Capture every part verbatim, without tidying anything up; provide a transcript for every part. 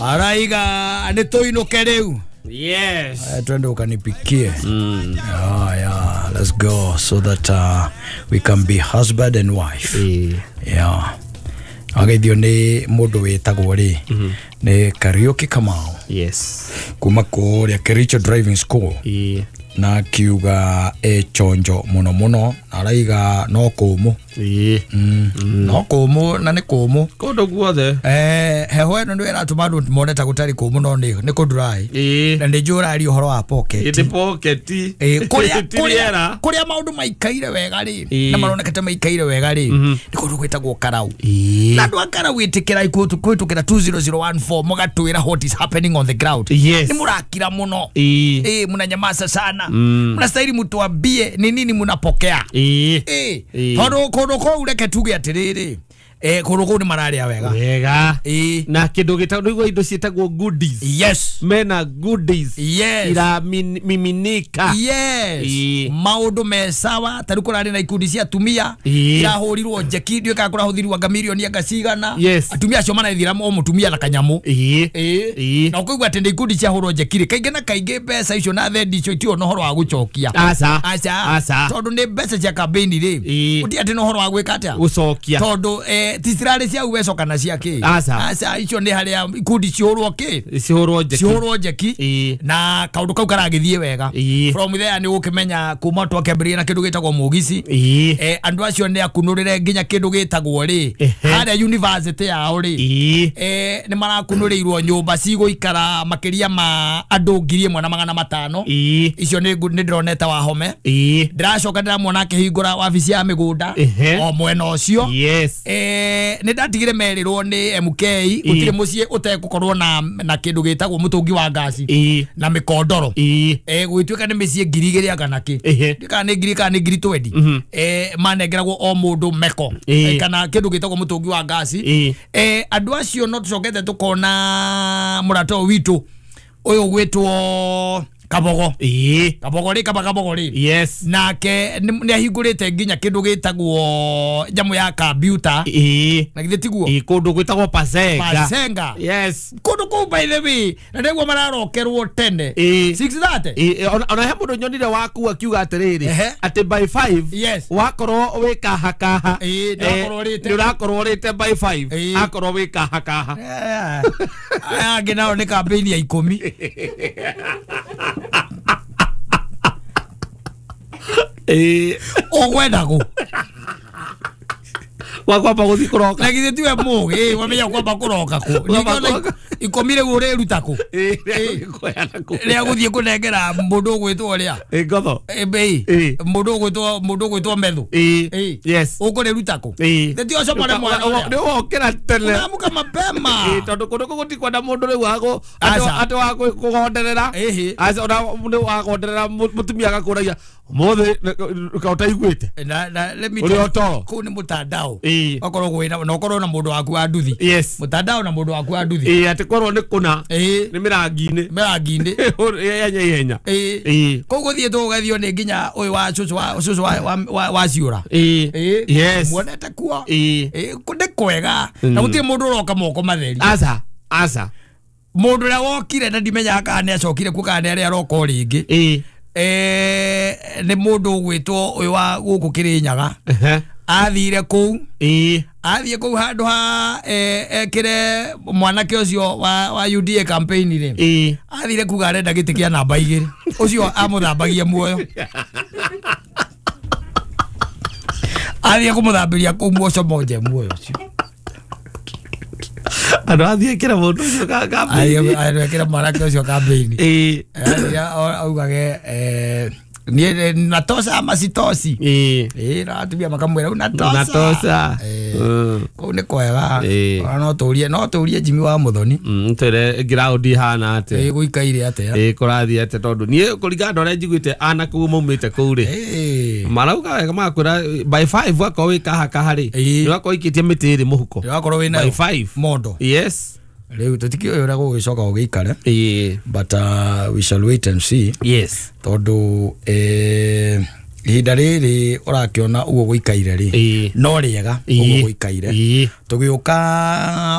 Araiga nĩ tũinũke rĩu. Yes. Uh, twende ukanipikie. Mm. Ah, yeah, let's go so that uh, we can be husband and wife. Yeah. Yeah. Ageithio nĩ mũndũ wĩtagwo rĩ nĩ Kariuki Kamau. Yes. Kuma kũrĩa Kericho Driving School. Yeah. Na akiuga e chonjo muno muno araiga no kũmũ. Yeah. Mm. Mm. No kũmũ na nĩ kũmũ kũndũ guothe. Eh, heho ĩno nĩ ĩratũma andũ mone ta gũtarĩ kũmũ no nĩ nĩ kũ dry. Na nĩ njũĩ ũraria ũhoro wa pocket. Ĩtĩ pocket. Eh, kũrĩa kũrĩa kũrĩa maũndũ maikaire wega rĩ na maroneka ta maikaire wega rĩ nĩ kũndũ gwĩtagwo Karau. Na andũ a Karau ĩtĩkĩra kũhĩtũkĩra two zero zero one four mũgatwĩra what is happening on the ground. Yes. Nĩ mũrakira mũno. Eh, mnanyamaza sana. Mnastahili mtuambie ni nini mnapokea. Eh. Eh. Tondũ kũndũ kũu reke tuge atĩrĩrĩ eh kũndũ kũu nĩ mararĩa wega. Wega. Eh. Na kĩndũ gĩtagwo nĩguo indo ciĩtagwo goodies. Yes. Mena goodies. Yes. Ira miminika. Yes. Maũndũ me sawa ta rĩu kũrarĩ na ikundi cia atumia irahũrirwo njeki ndiũĩ kana kũrahũthirwo anga mirioni anga cigana. Yes. Atumia acio marathira o mũtumia na kanyamũ. Eh. Eh. Na ũkũigua atĩ nĩ ikundi ciahũrwo njeki rĩ kaingĩ na kaingĩ mbeca icio na thendi icio itirĩ na ũhoro wa gũcokia. Aca. Aca. Aca. Tondũ nĩ mbeca cia campaign rĩ. Gũtirĩ atĩ na ũhoro wa gwĩka atĩa? Gũcokia. Tondũ eh tisirarĩ cia uweco kana cia kĩ. Aca. Aca icio nĩ harĩa ikundi cihũrwo kĩ? Cihũrwo njeki. Cihũrwo njeki. Na kaũndũ kau karagĩthiĩ wega. From there nĩ ũgũkĩmenya kuma twakĩambĩrĩria na kĩndũ gĩtagwo mũgici. Eh andũ acio nĩ akunũrĩre nginya kĩndũ gĩtagwo rĩ harĩa university yao rĩ. Eh nĩ marakunũrĩirwo nyũmba cigũikara makĩria ma andũ ngiri ĩmwe na magana matano. Icio nĩ nĩ ndĩronete Wahome. Ndĩracoka ndĩramuona akĩhingũra wabici ya mĩgũnda o mwena ũcio. Yes. Eh nĩ ndatigire merirwo nĩ M K gũtirĩ mũciĩ ũtegũkorwo na na kĩndũ gĩtagwo mũtũngi wa ngaci na mĩkondoro. Eh gũgĩtuĩka nĩ mĩciĩ ngiri igĩrĩ anga na kĩ. Ndiũĩ kana nĩ ngiri kana nĩ ngiri twendi. Eh manengeragwo o mũndũ meko kana kĩndũ gĩtagwo mũtũngi wa ngaci. Eh andũ acio no tũcokete tũkona mũrata ũyũ witũ ũyũ gwĩtwo Kabogo. Eh. Kabogo rĩ kaba Kabogo rĩ. Yes. Nake nĩ ahingũrĩte nginya kĩndũ gĩtagwo nyamũ ya computer. Eh. Na githĩ tiguo? Eh, kũndũ gwĩtagwo Pasenga. Pasenga. Yes. Kũndũ kũu by the way na nĩguo mararokerwo tene. Eh. six thirty. Eh, ona he mũndũ nyonire waku akiuga atĩrĩrĩ atĩ by five. Yes. Wakorwo wĩ kaha kaha. Eh, nĩ ũrakorwo ũrĩte. Nĩ ũrakorwo ũrĩte by five. Akorwo wĩ kaha kaha. Aya angĩ nao nĩ campaign ya ikũmi. Eh, ũgwenda kũ? Wakwamba gũthiĩ kũroka. Na githĩ tiwe mũgĩ, wamenya kwamba kũroka kũ? Ningĩ ikũmi rĩu ũrĩruta kũ? Rĩa gũthiĩ kũnengera mũndũ ũgwĩtwo ũrĩa? Ngotho. Mũndũ ũgwĩtwo mũndũ ũgwĩtwo Methu. Yes. Ũkũrĩruta kũ? Nĩ ti ũcomore mwana ũrĩa. Nĩ wokĩra tene. Ũramũka mapema. Tondũ kũndũ kũu gũtikwenda mũndũ rĩu wa atĩ wa kũgonderera. Aca ona mũndũ wa kũgonderera mũtumia agakũragia ũmũthĩ ka ũtaiguĩte. Na na let me Ũrĩ o toro. Kũu nĩ mũtandao. Okorwo kwĩna na ũkorwo na mũndũ waku wa nduthi. Yes. Mũtandao na mũndũ waku wa nduthi. Ĩĩ atĩ korwo nĩ kũna. Nĩ mĩrangi-inĩ. Mĩrangi-inĩ. Ihenya ihenya. Ĩĩ. Kũu gũthiĩ tũgũgethio nĩ nginya ũyũ wa cũcũ wa cũcũ wa wa ciũra. Ĩĩ. Yes. Muonete kuo. Ĩĩ. Ĩĩ nĩ kwega. Na gũtirĩ mũndũ ũroka moko matheri. Aca. Aca. Mũndũ ũrĩa wokire na ndimenyaga kana nĩ acokire kuo kana nĩ arĩa aroka o rĩngĩ. Ĩĩ. Eh nĩ mũndũ ũgwĩtwo ũyũ wa gũkũ Kĩrĩnyaga. Athire kũu. Ĩĩ. Athiĩ kũu handũ ha ekĩre mwanake ũcio wa wa U D A campaign rĩ. Ĩĩ. Athire kuga arenda gĩtĩ kĩa namba igĩrĩ. Ũcio amũthambagia muoyo. Athiĩ kũmũthambĩria kũu muoco monje muoyo ũcio. Andũ athiĩ ekĩre mũndũ ũcio campaign. Athiĩ ekĩre mwanake ũcio campaign. Ĩĩ. Athiĩ augage eh ni natosa ama sitosi. Ĩĩ. Ĩĩ na atumia makamwĩra unatosa. Unatosa. Kũu nĩ kwega. Ona no tũrie no tũrie Jimmy wa Muthoni. Mm twĩre ground ihana atĩa. Ĩĩ gũikaire atĩa. Ĩĩ kũrathiĩ atĩa tondũ niĩ kũringana na ũrĩa njiguĩte anake ũguo maumĩte kũu rĩ. Ĩĩ. Marauga wega magakwĩra by five wakorwo wĩ kaha kaha rĩ. Nĩ wakorwo ũikĩtie mĩtĩ ĩrĩ mũhuko. Nĩ wakorwo wĩ nayo. By five. Mondo. Yes. Rĩu tũtikĩũĩ ũrĩa gũgĩcoka gũgĩikare. Ĩĩ. But uh, we shall wait and see. Yes. Tondũ eh Ihinda rĩrĩ ũrakĩona ũguo gũikaire rĩ no rĩega ũguo gũikaire tũgĩũka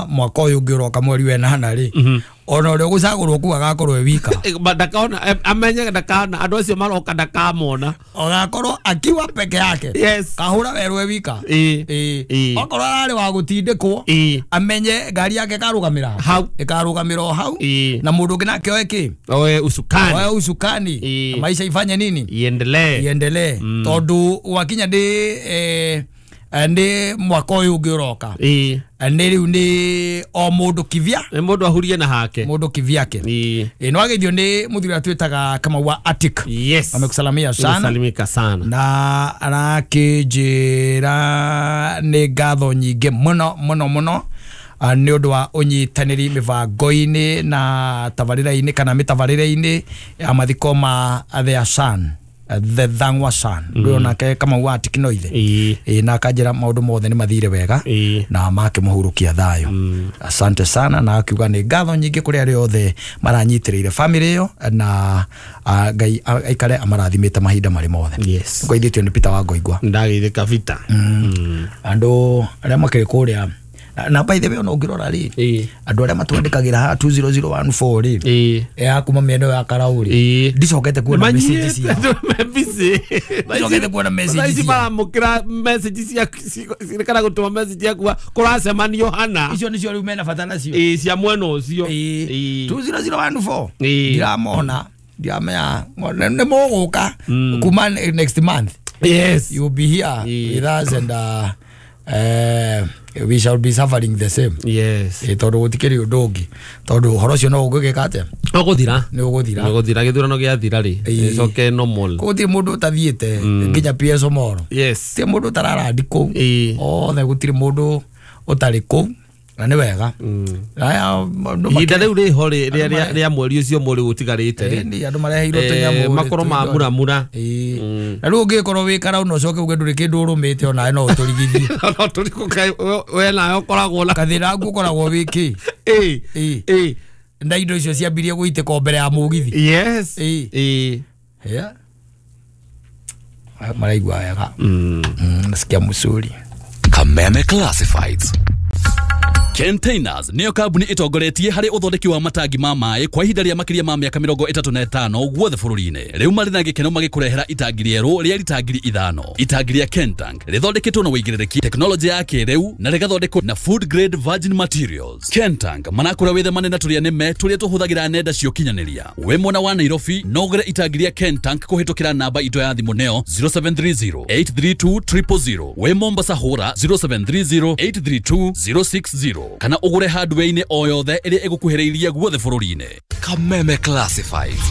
mwaka ũyũ ũngĩ ũroka mweri wa ĩnana rĩ ona ũrĩa ũgũcagũrwo kũu agakorwo e wika ndakaona amenye ndakana andũ acio maroka ndakamona agakorwo akiwa peke yake yes kahũra werũ e wika ĩĩ okorwo ararĩ wa gũtindĩkwo amenye ngari yake ĩkarũgamĩra hau ĩkarũgamĩra o hau na mũndũ ũngĩ nake oe kĩ oe usukani oe usukani maisha ifanye nini iendelee iendelee tondu wakinya ndĩ eh ndi mwaka ũyũ ũngĩ ũroka nĩ rĩu nĩ o mũndũ kivya nĩ mũndũ ahurie na hake mũndũ kivyake ĩ no ageithio nĩ mũthuri ũrĩa twĩtaga Kamau wa Attic yes amekusalamia sana salimika sana na arakĩnjĩra nĩ ngatho nyingĩ mũno mũno mũno nĩ ũndũ wa ũnyitanĩri mĩbango-inĩ na tabarĩra-inĩ kana mĩtabarĩre-inĩ ya mathiko ma their son the Thang'wa son mm. nake Kamau wa Attic no ithe ĩ na akanjĩra maũndũ mothe nĩ mathire wega na makĩmũhurũkia thayũ mm. Asante sana na akiuga nĩ ngatho nyingĩ kũrĩ arĩa othe maranyitĩrĩire family ĩyo na Ngai aikare amarathimĩte mahinda marĩ mothe yes ngwaithĩtio nĩ Peter wa Ngoingwa ndagĩithĩka Vita mm. andũ arĩa makĩrĩ kũrĩa na by the way ona ũngĩrora rĩ andũ arĩa matwandĩkagĩra haha two zero zero one four rĩ ya kuma mĩena ya Karau rĩ ndicokete kuona message ciao ndicokete kuona message ciao maramũkĩra message cia kana gũtũma message ciaku kũracemanio hana icio nĩcio rĩu mena bata nacio ĩĩ cia mwena ũcio two zero zero one four ndiramona ndiramenya nĩ mũgũka kuma next month yes you will be here with us and uh, uh, we shall be suffering the same yes eh tondu gutikiri undu ungi tondu uhoro ucio no ungigika atia uguthira ni uguthira uguthira githurano giathira ri icoke normal gutiri mundu utathiite nginya P S Omoro yes ti mundu utararandi kuu othe gutiri mundu utari kuu na nĩ wega ihinda rĩu rĩho rĩa mweri ũcio mweri ũtigarĩte rĩ andũ mareheirwo tũnyamũ makorwo ma muramura na rĩu ũngĩkorwo wĩ Karau na ũcoke uge ndũrĩ kĩndũ ũrũmĩte onawe no ũtũrigithie we nawe ũkoragwo na gathĩna aku ũkoragwo wĩ kĩ ĩĩ na indo icio ciambirie gũitĩka mbere ya mũgithi yes ĩĩ maraigua wega nasikia mzuri Kameme Classifieds Containers niyo kambuni itongoretie harĩ ũthondeki wa matangi ma maĩ kwa ihinda rĩa makĩria ma mĩaka mĩrongo ĩtatũ na ĩtano guothe bũrũri-inĩ. Rĩu marĩ na gĩkeno magĩkũrehera itangi rĩerũ rĩa rita ngiri ithano. Itangi rĩa Kentank rĩthondeketwo na wĩigĩrĩrĩki tekinoronjĩ ya kĩrĩu na rĩgathondekwo na food grade virgin materials. Kentank marakũra wĩthemane na tũrĩa nĩme tũrĩa tũhũthagĩra nenda cia ũkinyanĩria. Wĩ mwena wa Nairobi no ũgũre itangi rĩa Kentank kũhĩtũkĩra namba itũ ya thimũ neo zero seven three zero eight three two triple zero. Wĩ Mombasa hũra zero seven three zero eight three two zero six zero kana ũgũre hardware-inĩ o yothe ĩrĩa ĩgũkuhĩrĩirie guothe bũrũri-inĩ. Kameme Classifieds.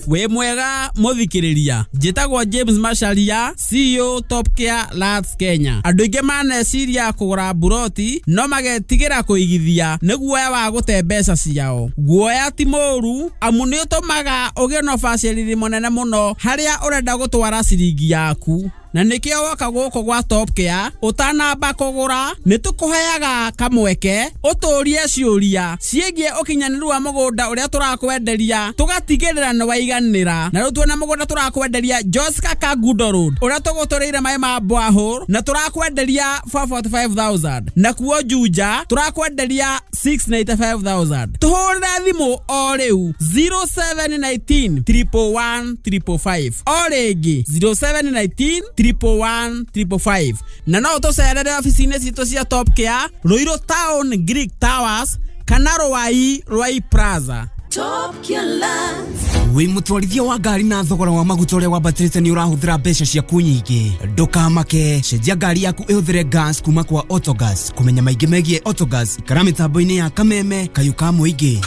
We mwega muthikiriria njitagwo James Macharia C E O Top Care Lands Kenya. Andu aingi maneciria kugura buroti no magetigira kuigithia ni guoya wa gute mbeca ciao. Guoya ti mũru amu ni utumaga ugie na ubacĩrĩri mũnene mũno haria urenda gutwara ciringi yaku. Na nikio woka guku gwa Top Care utanamba kugura ni tukuheaga kamweke uturie ciuria ciĩgiĩ ũkinyanĩru wa mũgũnda ũrĩa tũrakwenderia tũgatigĩrĩra nĩ waiganĩra. Na rĩu tuona mũgũnda tũrakwenderia Joska Kangundo Road ũrĩa tũgũtũrĩire maĩ ma borehole na tũrakwenderia four forty five thousand, na kuo Juja tũrakwenderia six ninety five thousand. Tũhũrĩre thimũ o rĩu zero seven nineteen triple one triple five o rĩngĩ zero seven nineteen triple one triple five. Na no tũcerere ofici-inĩ citũ cia Top Care Ruiru Town Greek Towers kana Ruai Ruai Plaza. Top Care Lands. Wĩ mũtwarithia wa ngari na thogora wa maguta ũrĩa wambatĩrĩte nĩ ũrahũthĩra mbeca ciaku nyingĩ, ndũkamake, cenjia ngari yaku ĩhũthĩre gas kuma kwa Autogas. Kũmenya maingĩ megiĩ Autogas, ikara mĩtambo-inĩ ya Kameme kayũ ka mũingĩ.